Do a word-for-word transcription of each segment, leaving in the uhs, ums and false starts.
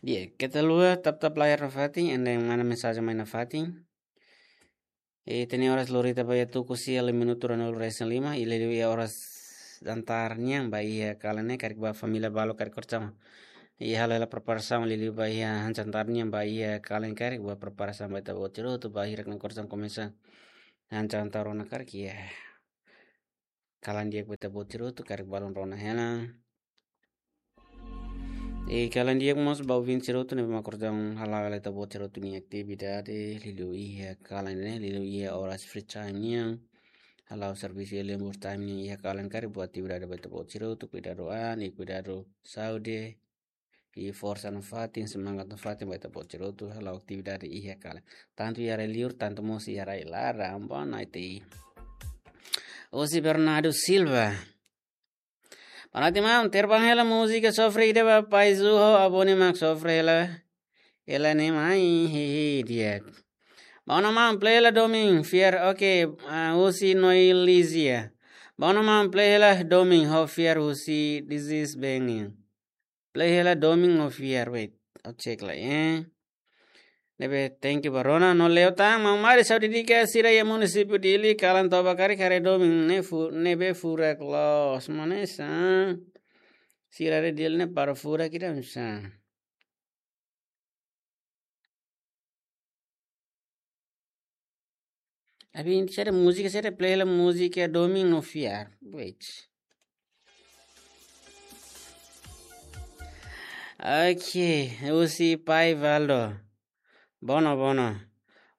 Di'ak, keta haluha tap-tap layar nafatin, ende manda mensajen mai nafatin. Ita-nia oras lori ita ba iha tuku sia, lima minutu ruanulu resin lima, i liuliu iha oras jantar nian ba iha kalan ne'e karik ba família balu karik kortama. I halo hela preparasaun liuliu ba iha jantar nian ba iha kalan karik ba preparasaun ba ita-boot sira hotu ba hirak-ne'e kortama komesa jantar rona karik iha kalan di'ak ba ita-boot sira hotu karik balun rona hela. I kalan di'ak mós ba ouvinte sira hotu ne'ebé mak kortama hala'o hela ita-boot sira hotu nia atividade liuliu iha kalan ne'e, liuliu iha oras free time nian. Hala'o servisu iha lembur time nian iha kalan karik buat atividade ba ita-boot sira hotu, kuidadu an, i kuidadu saúde, i forsa nafatin, semangat nafatin ba ita-boot sira hotu hala'o atividade iha kalan. Tantu iha rai-liur, tantu mós iha rai-laran, boa noite. Husi Bernardo Silva. Boa noite, maun. Terbang hela múzika sofre ida ba Pai Zu ho Abone mak sofre hela. Hela ne'e mai, hehe, di'ak. Bom, maun, play hela Domin, fiar, oke, ah, husi Noilizia. Bom, maun, play hela Domin ho fiar husi This Is Banging. Play hela Domin ho fiar, wait. I'll check lai, eh. Ne'ebé, thank you ba rona, no leo tan, maun Maris, ha'u dedika sira iha munisípiu Dili, kalan toba karik haree Domin ne'e fu-, ne'ebé furak loos, maun Maris, ah. Sira haree Dili ne'e para furak ida, maun Maris. Abi, sira múzika, sira play hela múzika Domin no fiar. Wait. Ok, husi Pai Valdo. Bono, bono.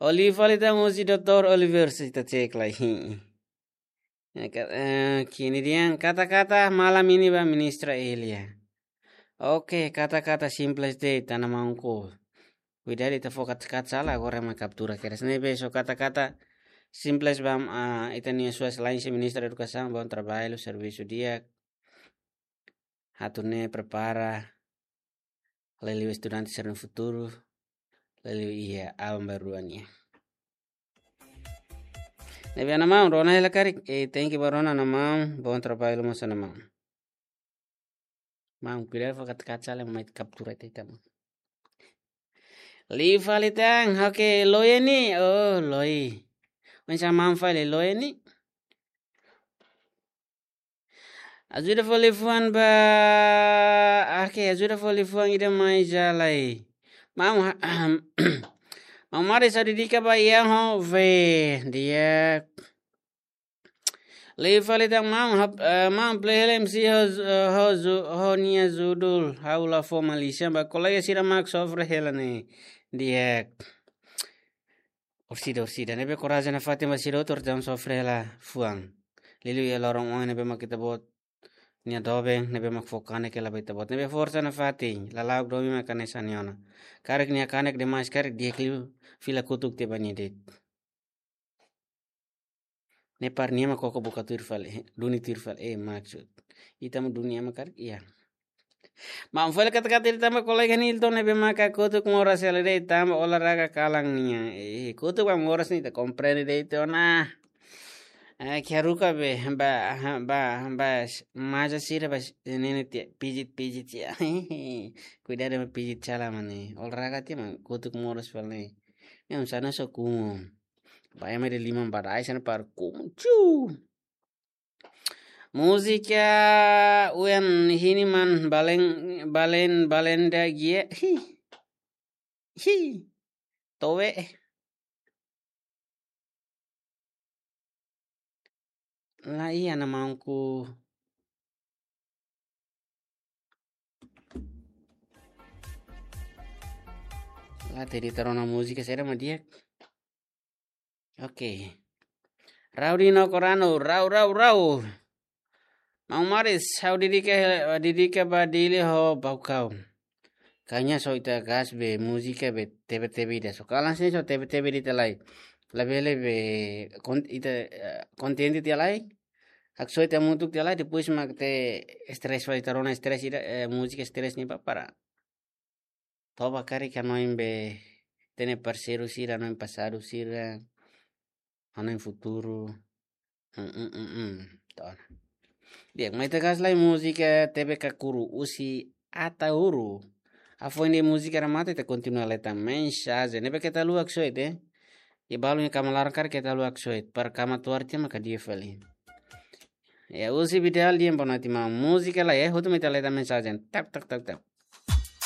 Oliver fali tan husi doutór Oliver, se ita check lai. Eh, ka-, eh, kini dian kata-kata malam ini ba Ministra Elia. Oke, kata-kata simples de'it, tanba maun ko. Kuidadu ita fó kata-kata sala, agora ema kaptura kedas. Ne'ebé só kata-kata simples ba, ah, ita-nia Sua Exelénsia Ministra Edukasaun, bom trabalho, servisu di'ak. Atu ne'e prepara liuliu estudante sira-nia futuru, liuliu iha aban-bainrua nian. Ne'ebé, maun, rona hela karik, eh, thank you ba rona, maun, bom trabalho mós, maun. Maun, kuidadu fó kata-kata sala, mai kaptura ita, maun. Liu fali tan, oke, loi ne'e, oh, loi. Oinsá maun fali loi ne'e? Ajuda fó liafuan ba, oke, ajuda fó liafuan ida mai jalai. Maun, maun Maris, ha'u dedika ba Ian ho Ve, di'ak. Liu fali tan maun, hap-, eh, maun play hela M C ho, eh, ho zu-, ho nia judul, ha'u la fó malísia ba kolega sira mak sofre hela ne'e, di'ak. Orsida, orsida, ne'ebé korajen nafatin ba sira hotu, orsida sofre hela fuan. Liuliu iha loron oin ne'ebé mak ita-boot nia doben, ne'ebé mak fó kanek hela ba ita-boot. Ne'ebé forsa nafatin, lala'ok domin mak hanesan nia ona. Karik nia kanek demais, karik di'ak liu fila kotuk tiha ba nia de'it. Ne'e para nia mak koko buka tuir fali, duni tuir fali, eh, maksud. Ita mak duni ema karik, iya. Maun fali kata-kata ida tanba kolega Nilton ne'ebé maka kotuk moras hela de'it tanba olahraga kalan nian. Eh, kotuk ba moras ne'e ita komprende de'it ona. Eh, kiaruka be, ba, ba, ba, maja sira ba, ne'e ne'e tiha, pijit, pijit tiha. Kuidadu ba pijit sala mane. Olahraga tiha mak kotuk moras fali. Ne'e un sana so kumu. Ba ema ida liman ba rai sana para kumu. Chu. Múzika Uyan Hiniman balen, balen, balen da gia. Hi. Hi. Towe. La iha na maunku. La tedi tarona múzika sira mak di'ak. Oke. Rau di no korano, rau, rau, rau. Maun Maris, ha'u dedika, dedika ba Dili ho Baucau. Kanya so ita gas be múzika be tebe-tebe ida. So kalan sini so tebe-tebe ida lai. Labele be kon-, ita, eh, kontente tiha lai. Haksoit hamutuk tiha lai, depois mak ita estrés fali, ita rona estrés ida, eh, múzika estrés ne'e ba para. Toba karik hanoin be ita-nia parseiru sira, hanoin pasadu sira, hanoin futuru. Hmm, hmm, hmm, hmm. Tona. Di'ak, mai ita gas lai múzika T B K Kuru husi Ataúru. Hafoin de'it múzika remata, ita kontinua leta mensajen. Ne'ebé keta haluha haksoit, eh. Iha balu nia kama laran karik keta haluha haksoit. Para kama tuar tia maka di'ak fali. Ya, Uzi Vidal dehan boa noite maun. Múzika lai, eh. Hotu mai ita leta mensajen. Tap, tap, tap, tap.